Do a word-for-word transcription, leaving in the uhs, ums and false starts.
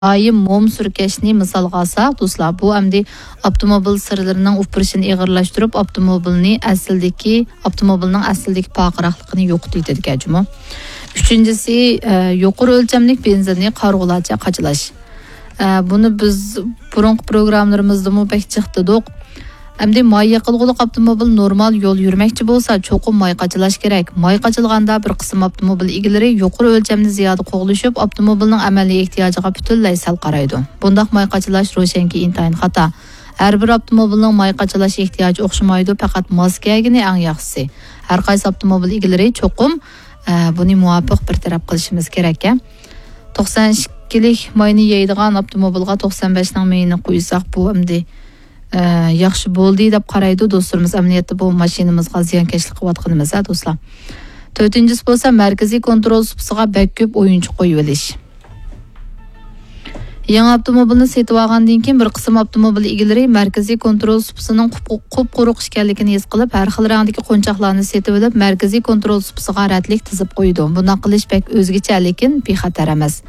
دائىم موم سۈركەشنى مىسالغا ئالساق، دوستلار، بۇ ئەمدى ئاپتوموبىل سىرلىرىنىڭ ئۇپرىشىنى ئېغىرلاشتۇرۇپ، ئاپتوموبىلنى ئەسلىدىكى، ئاپتوموبىلنىڭ ئەسلىدىكى پارقىراقلىقىنى يوقىتىۋېتىدىكەن جۇمۇ. ئۈچىنچىسى، ئە، يۇقىرى ئۆلچەملىك بېنزىننى قارىغۇلارچە قاچىلاش. ئە، بۇنى بىز بۇرۇنقى پروگراممىلىرىمىزدىمۇ بەك جىق دېدۇق. ئەمدى ماي يېقىلغۇلۇق ئاپتوموبىل نورمال يول يۈرمەكچى بولسا، چوقۇم ماي قاچىلاش كېرەك. ماي قاچىلىغاندا بىر قىسىم ئاپتوموبىل ئىگىلىرى يۇقىرى ئۆلچەمنى زىيادە قوغلىشىپ، ئاپتوموبىلنىڭ ئەمەلىي ئېھتىياجىغا پۈتۈنلەي سەل قارايدۇ. بۇنداق ماي قاچىلاش روشەنكى ئىنتايىن خاتا. ھەر بىر ئاپتوموبىلنىڭ ماي قاچىلاش ئېھتىياجى ئوخشىمايدۇ، پەقەت ماس كەلگىنى ئەڭ ياخشىسى. ھەر قايسى ئاپتوموبىل ئىگىلىرى چوقۇم، ئە، بۇنى مۇۋاپىق بىر تەرەپ قىلىشىمىز كېرەك. توقسان ئىككىلىك ماينى يەيدىغان ئاپتوموبىلغا توقسان بەشنىڭ مېيىنى قۇيساق، بۇ ئەمدى، ئە، ياخشى بولدى دەپ قارايدۇ دوستلىرىمىز. ئەمەلىيەتتە بۇ ماشىنىمىزغا زىيانكەشلىك قىلىۋاتقىنىمىز، ھە، دوستلار. تۆتىنچىسى بولسا مەركىزىي كونترول سۇپىسىغا بەك كۆپ ئويۇنچۇق قويۇۋېلىش. يېڭى ئاپتوموبىلنى سېتىۋالغاندىن كېيىن، بىر قىسىم ئاپتوموبىل ئىگىلىرى مەركىزىي كونترول سۇپىسىنىڭ قۇپ-، قۇپقۇرۇق ئىكەنلىكىنى ھېس قىلىپ، ھەر خىل رەڭدىكى قونچاقلارنى سېتىۋېلىپ، مەركىزىي كونترول سۇپىسىغا رەتلىك تىزىپ قويىدۇ. بۇنداق قىلىش بەك ئۆزگىچە، لېكىن بىخەتەر ئەمەس.